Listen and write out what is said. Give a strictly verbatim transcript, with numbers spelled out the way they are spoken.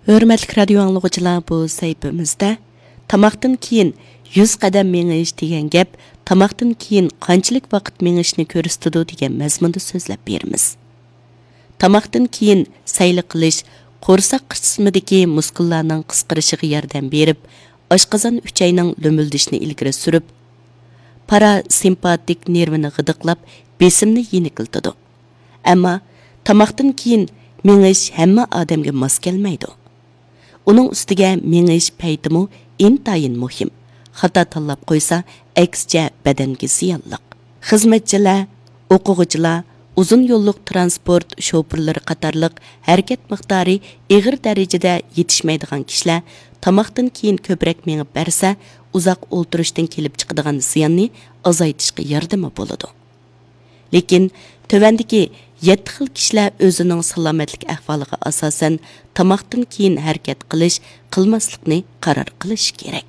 ھۆرمەتلىك رادىيو ئاڭلىغۇچىلار، بۇ سەھىپىمىزدە تاماقتىن كېيىن يۈز قەدەم مېڭىش دېگەن گەپ تاماقتىن كېيىن قانچىلىك ۋاقىت مېڭىشنى كۆرسىتىدۇ دېگەن مەزمۇندا سۆزلەپ بېرىمىز. تاماقتىن كېيىن سەيلە قىلىش قورساق قىسمىدىكى مۇسكۇللارنىڭ قىسقىرىشىغا ياردەم بېرىپ، ئاشقازان ئۈچەينىڭ لۆمۈلدىشىنى ئىلگىرى سۈرۈپ، پاراسىمپاتىك نېرۋىنى غىدىقلاپ، بېسىمنى يېنىكلىتىدۇ. ئەمما تاماقتىن كېيىن مېڭىش ھەممە ئادەمگە ماس كەلمەيدۇ. ئۇنىڭ ئۈستىگە مېڭىش پەيتىمۇ ئىنتايىن مۇھىم. خاتا تاللاپ قويسا، ئەكسىچە بەدەنگە زىيانلىق. خىزمەتچىلەر، ئوقۇغۇچىلار، ئۇزۇن يوللۇق تىرانسپورت شوپۇرلىرى قاتارلىق ھەرىكەت مىقدارى ئېغىر دەرىجىدە يېتىشمەيدىغان كىشىلەر تاماقتىن كېيىن كۆپرەك مېڭىپ بەرسە، ئۇزاق ئولتۇرۇشتىن كېلىپ چىقىدىغان زىياننى ئازايتىشقا ياردىمى بولىدۇ. لېكىن تۆۋەندىكى يەتتە خىل كىشىلەر ئۆزىنىڭ سالامەتلىك ئەھۋالىغا ئاساسەن تاماقتىن كېيىن ھەرىكەت قىلىش، قىلماسلىقنى قارار قىلىشى كېرەك.